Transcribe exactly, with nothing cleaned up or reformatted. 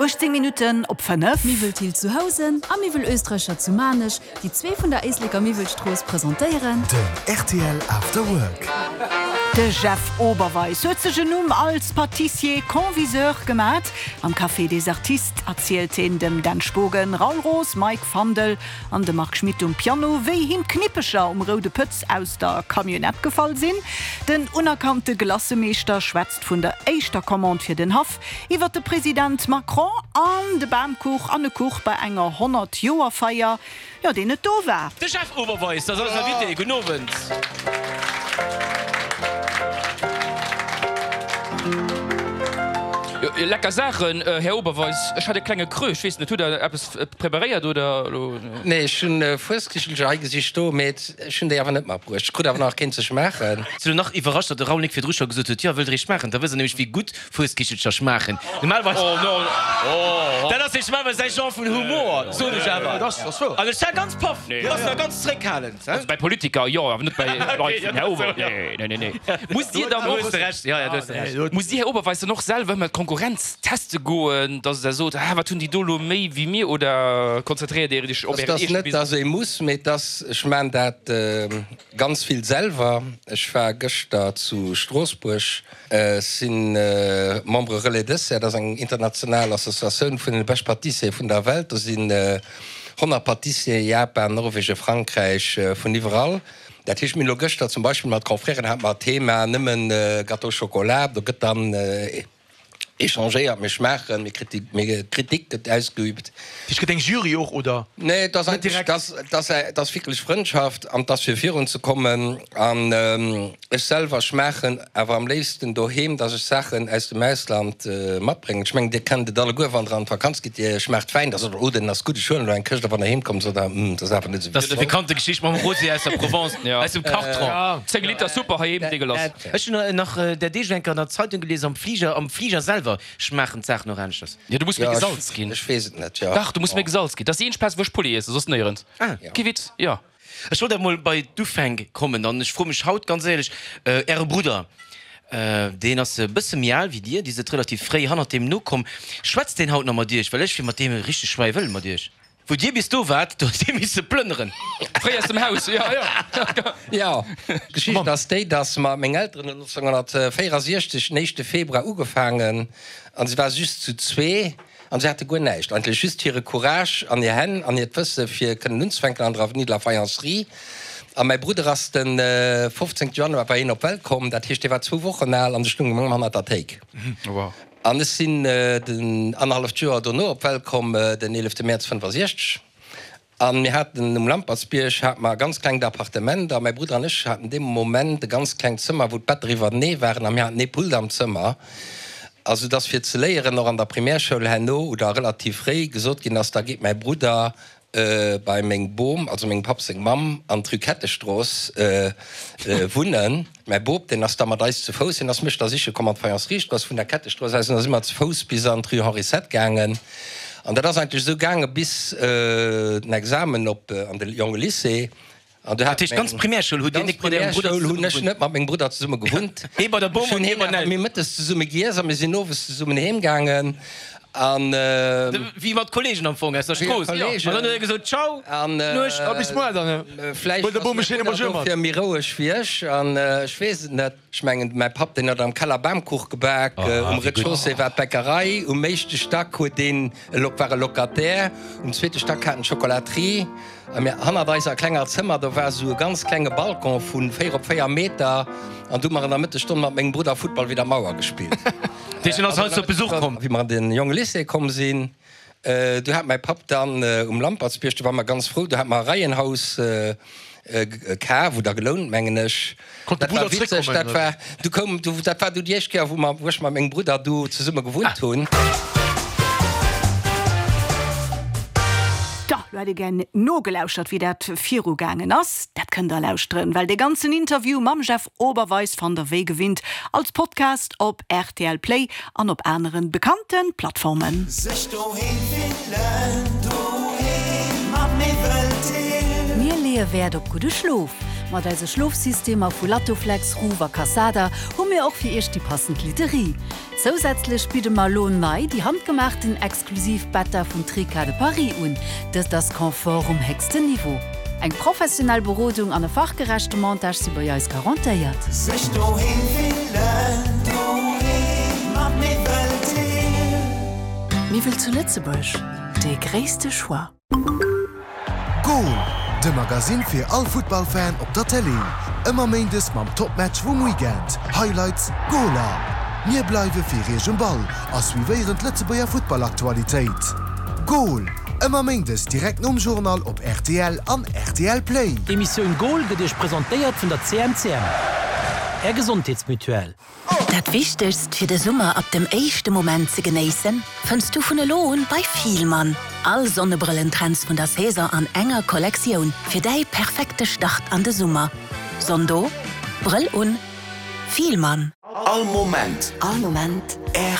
Uechtzéng Minutten op fënnef. Miwwel Thill zu Housen a Miwwel Oesträcher zu Maarnech, déi zwee vun der Éisleker Miwwelstrooss presentéieren. Den rtl After Work. De Jeff Oberweis huet sech en Numm als Pâtissier-Conviseur gemat. Am Café des Artistes erzielt hien dem Dan Spogen, Raoul Roos, Mike Fandel an dem Marc Schmitt um Piano, wéi him d'Knippecher um Roude Pëtz aus der Camionnette gefall sinn. Den unerkannte Glacëmeeschter schwätzt vun der éischter Commande fir den Haff, iwwer de President Macron an de Bamkuch an e Kuch bei enger Honnert-Joer-Feier, jo, deen net do war. De Jeff Oberweis ass eisen Invité. Gudden Owend. Jo, lecker Saachen, Här Oberweis. Ech hat e klenge Creux. Ech weess net, hutt Der eppes preparéiert oder elo? Nee, ech hunn Fueskichelcher hei gesi stoen, mee ech hunn déi awer net matbruecht. Ech krut awer nach keen ze schmaachen. Sinn elo nach iwwerrascht, datt de Raoul Nick virdru scho gesot huet, jo, wëllt Der eech schmaachen? Da wësst Der nämlech, wéi gutt Fueskichelcher schmaachen. Normalerweis, dat ass nämlech normalerweis säi Genre vun Humor, soen ech awer. An ech war ganz paff, du bass nach ganz zréckhalend. Also bei Politiker jo, awer net bei Leit vun Här Ober. Nee, nee, nee, nee. Musst Dir dann och. Du hues Recht, jo, jo, du hues Recht. Musst Dir, Här Oberweis, dann och selwer ëmmer d'Konkurrenz teste goen, dass Der sot, ah, wat hunn déi do elo méi wéi mir, oder konzentréiert Dir Iech op Ären eegene Business? Et ass net, dass ee muss, mee et ass, ech maan dat ganz vill selwer. Ech war gëschter zu Stroossbuerg. Ech si Membre Relais Dessert, dat ass eng international Associatioun vun den bescht Pâtissiere vun der Welt. Do sinn honnert Pâtissieren, Japan, Norwegen, Frankräich, vun iwwerall. Dat heescht, mir hunn elo gëschter zum Beispill mat Confrèren hate mer Thema nëmmen Gâteau au chocolat. Do gëtt dann échangéiert, mir schmaachen, mir Kritik gëtt ausgeübt. Dat heescht, gëtt eng Jury och, oder? Nee, et ass einfach, et ass wierklech Frëndschaft an et ass fir virun ze kommen. An ech selwer schmaachen awer am léifsten doheem, dass ech Saachen aus dem Ausland matbréngen. Ech mengen, Dir kennt et alleguer, wann Der an d'Vakanz gitt, Dir schmaacht Wäin, da sot Der, oh, deen ass gutt, ech huelen elo eng Këscht. A wann Der heem kommt, sot Der, hm, dat ass awer net esou Dat ass déi bekannte Geschicht mam Rosé aus der Provence, aus dem Karton. Zéng Liter Super heiheem, deegelass. Ech hunn nach der Deeg eng Kéier an der Zeitung gelies, am Fliger, am Fliger selwer schmaachen d'Saachen och aneschters. Jo, du muss méi gesalz ginn. Ech weess et net, jo. Dach, du muss méi gesalz ginn. Dat ass déi eenzeg Plaz, wou ech Poulet iessen, soss néierens. Ah. Kee Witz, jo. Ech wollt awer mol bei d'Ufänk kommen an ech froe mech haut ganz éierlech, Äre Brudder, deen ass e bësse méi al wéi Dir, Dir sidd relativ fréi hannert deem nokomm, schwätzt deen haut nach mat Iech? Well ech wier mat deem e richteg schwäi wëll mat Iech. Wou Dir bis do waart, do hutt Dir misse plënneren. Fréi aus dem Haus, jo, jo. Jo, d'Geschicht ass déi, dass mer, meng Elteren hunn nonzénghunnertvéierundsechzeg den éischte Februar ugefaangen an se ware just zu zwee an se hate guer näischt, eigentlech just hire Courage an hir Hänn an hiert Wësse fir kënnen unzefänken an der Avenue de la Faïencerie. A mäi Brudder ass de fofzéngte Januar war hien op d'Welt komm, dat heescht, dee war zwou Wochen al an ech stoung ëm hannert der Théik. An ech sinn den annerhalleft Joer dono op d'Welt komm, den eelefte Mäerz fënnfasiechzeg. A mir haten um Lampertsbierg hate mer e ganz klengt Appartement a mäi Brudder an ech haten dee Moment e ganz klengt Zëmmer, wou d'Better iwwertenee waren a mir haten ee Pult am Zëmmer. A sou dass fir ze léieren och an der Primärschoul herno oder relativ fréi gesot ginn ass, da geet mäi Brudder bei meng Bom, also mengem Papp seng Mamm, an d'Rue Kettestrooss wunnen. Mäi Bop, deen ass da mat eis zu Fouss, hien ass mech da siche komm an d'Faïenceriestrooss vun der Kettestrooss aus, an da si mer zu Fouss bis an d'Rue Henri Sept gaangen. An dat ass eigentlech esou gaange bis den Examen op an de Jongelycée. An du Dat heescht, d'ganz Primärschoul hutt Dir nik mat Ärem Brudder Ganz Primärschoul hunn ech zesumme net mat mengem Brudder zesumme gewunnt. Hee bei der Bom Ech hunn an hie hien bei den awer Elteren. mir mëttes zesumme giess a mir sinn owes zesummen heem gaangen. An. Wéi mat Kollegen am Fong aus der Wéi Strooss. Kollegen. An dann huet e gesot, Ciao, An Nuecht. A bis muer dann. vläicht Huet der ass Bom mäi e schéine Brudder Bonjour mat. dofir méi roueg wéi ech an ech weess et net. Ech mengen, mäi Papp, deen huet am Keller Bamkuch gebak, um Rez-de-chaussée war d'Bäckerei, um éischte Stack huet deen e Lok, war e Locataire, um zweete Stack hat en d'Chocolaterie a mir hannert eiser klenger Zëmmer, do war esou e ganz klenge Balcon vu véier op véier Meter an do hu mer an der Mëttesstonn mat mengem Brudder Futtball widder d'Mauer gespillt. Deen ass heiansdo op Besuch komm. Wéi mer an den Jongelycée komm sinn, do hat mäi Papp dann um Lampertsbierg, do ware mer ganz frou, do hat mer e Reihenhaus kaf oder gelount, mengen ech. Konnt de Dat war Brudder witzeg, zréckkommen, dat oder? war, du koum, du, dat war du déi éischt Kéier, wou mer, wou ech mat mengem Brudder du zesumme gewunnt hunn. Da, lo hätt ee gär nogelauschert, wéi dat virugaangen ass. Dat kënnt der lauschteren, well dee ganzen Interview mam Jeff Oberweis fannt der wéi gewinnt als Podcast op rtl Play an op aneren bekannten Plattformen. Sech doheem fillen, doheem am Miwweltill. Mir leeë Wäert op gudde Schlof. Mat eise Schlofsystemer vu Lattoflex, Ruwer, Cassada hu mir och fir Iech déi passend Literie. Zousätzlech bidde mer lo nei déi handgemaachten exklusiv Better vun Trica de Paris un. Dëst ass Confort um héchsten Niveau. Eng professionell Berodung an e fachgerechte Montage si bei eis garantéiert. Sech doheem fillen, doheem mat Miwwel Thill. Miwwel zu Lëtzebuerg, dee gréisste Choix. Goal, de Magasinn fir all Futtballfan op der Tëlee. Ëmmer méindes mam Topmatch vum Weekend, Highlights, Goaler. Mir bleiwe fir Iech um Ball a suivéieren d'Lëtzebuerger Futtballaktualitéit. Goal, ëmmer méindes direkt nom Journal op rtl an rtl Play. D'Emissioun Goal gëtt Iech presentéiert vun der C M C M, Är Gesondheetsmutuelle. Dat Wichtegst fir de Summer ab dem éischte Moment ze genéissen, fënns du vun elo un bei Fielmann. All Sonnebrëllentrends vun der Saison an enger Kollektioun fir däi perfekte Start an de Summer. Sonn do, Brëll un, Fielmann. All Moment. All Moment. R.